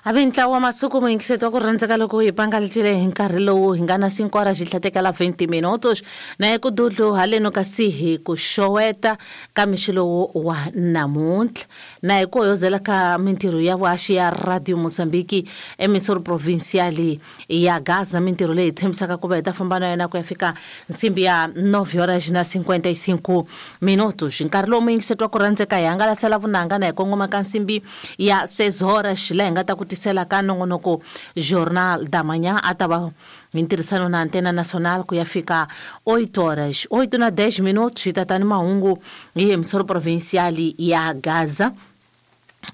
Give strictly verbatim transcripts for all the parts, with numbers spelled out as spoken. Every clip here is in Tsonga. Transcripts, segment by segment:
Avi ntlawa wa masuku muyingiseti wa ku rhandzeka loko hi pangalitile hi nkarhi lowu hi nga na cinco horas xi tlhatekela vinte minutos na eku dudlu haleno kasi hi ku xoweta ka mixo lowu wa namuntlha na hi ku hoyozela ka mintirho ya vuhaxi ya Radio Mozambique emisoro provincial ya Gaza, mintirho leyi tshembisaka ku va hi ta famba na yona ku ya fika nsimbi ya nove horas na cinquenta e cinco minutos. Nkarhi lowu muyingiseti wa ku rhandzeka hi hangalasela vunanga na hi kongoma ka nsimbi ya seis horas laha hi nga ta ku tisela ka nongonoko Jornal da Manhã a ta va hi ntirhisano na Antena Nacional ku ya fika oito horas, oito na dez minutos hi ta ta ni mahungu hi emisoro provincial ya Gaza.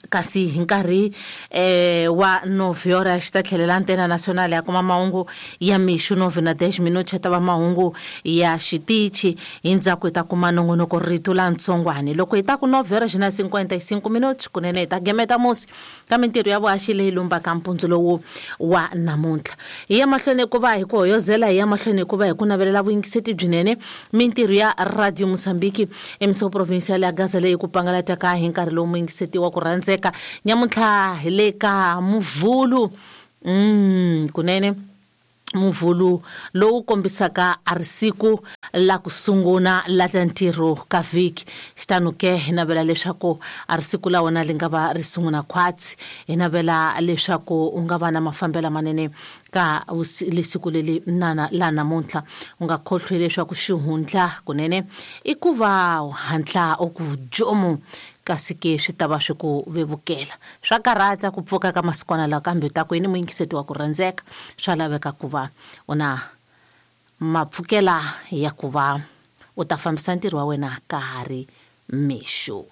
Kasi hi nkarhi eh, wa nove horas ta tlhelela Antena Nacional ya kuma mahungu ya mixo nove na dez minutos ta va mahungu ya xitichi, hi ndzhaku hi ta kuma nongonoko rito la ntsongwani. Loko hi ta ku nove horas na cinquenta e cinco minutos kunene hi ta gemeta musi ka mintirho ya vuhaxi leyi lumbaka mpundzu lowu wa namuntlha. Hi ya mahlweni ku va hi ku hoyozela, hi ya mahlweni ku va hi ku navelela vuyingiseti byinene mintirho ya Radio Mozambique emisoro provincial ya Gaza leyi ku pangalataka hi nkarhi lowu muyingiseti wa ku rhandzeka nyamuntlha hi le ka muvhulu mm kunene muvhulu lowu kombisaka a ri siku la ku sungula la ta ntirho ka vhiki. Xitano ke hi navela leswaku a ri siku la wona li nga va ri sungula khwatsi, hi navela leswaku u nga va na mafambelo manene ka lesiku leli nana la namuntlha. U nga khohlwi leswaku xihundla kunene i ku va hatla u ku jomu, kasi ke swi ta va swi ku vevukela. Swa karhata ku pfuka ka masikwana lawa, kambe ta ku yini muyingiseti wa ku rhandzeka, swa laveka ku va u na mapfukela ya ku va u ta fambisa ntirho wa wena ka ha ri mixo.